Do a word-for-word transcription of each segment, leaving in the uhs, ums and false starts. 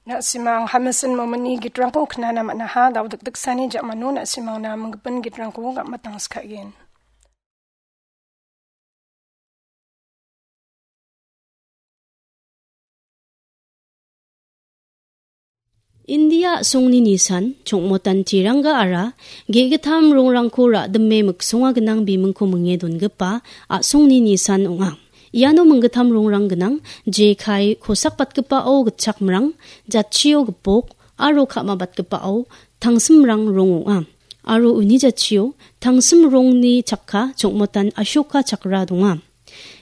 Na·simang Hamilton Momini gitrangko knana man·aha, dao dikdiksani jamano na·simangna minggipin gitrangko gam·matangskagen. India a·songni nisan chongmotan tiranga ara ge·gittam rongrangko ra·dime miksonga gnang bimingko minge dongipa a·songni nisan ong·a. Iano minggittam rongrang gnang, jekai kosakbatgipao gitchakmrang, jatchio gipok aro ka·mabatgipao tangsimrang rong ong·a. Aro uni jatchio tangsim rongni chakka chongmotan Ashoka chakra donga.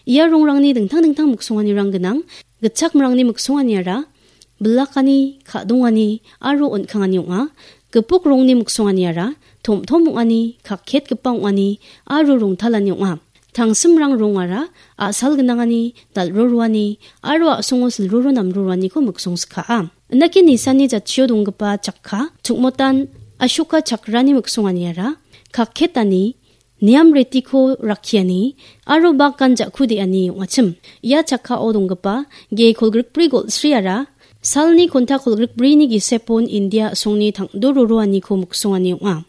Ia rongrangni dingtang dingtang miksonganirang gnang, gitchakmrangni miksonganiara bilakani, ka·dongani aro on·kangani ong·a. Gipok rongni miksonganiara tom·tom ong·ani, kaketgipa ong·ani aro rongtalani ong·a. Tangsimrang rongara a·sal gnangani, dal·roroani aro a·songo silroro namroroaniko miksongskaha. Indake nisanni jatchio donggipa chakka, chukmotan Ashoka chakrani miksonganiara, kaketani, niam retiko rakkiani aro bagan ja·kudeani ong·achim. Ia chakkao donggipa ge kolgrikbri golsriara salni konta kolgrikbrini gisepon India a·songni tangdo roroaniko miksongani ong·a.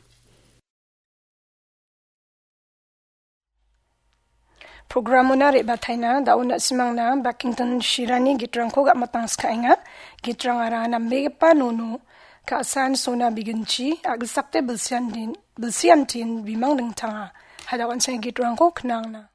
Programona re·bataina, dao na·simangna Bakington Shirani gitrangko gam·matangskaenga. Gitrangara nambegipa nono, ka·san sona biginchi, a·gisakde bilsian din, bilsiantin bimang dingtanga. Hadao an·ching gitrangko knangna.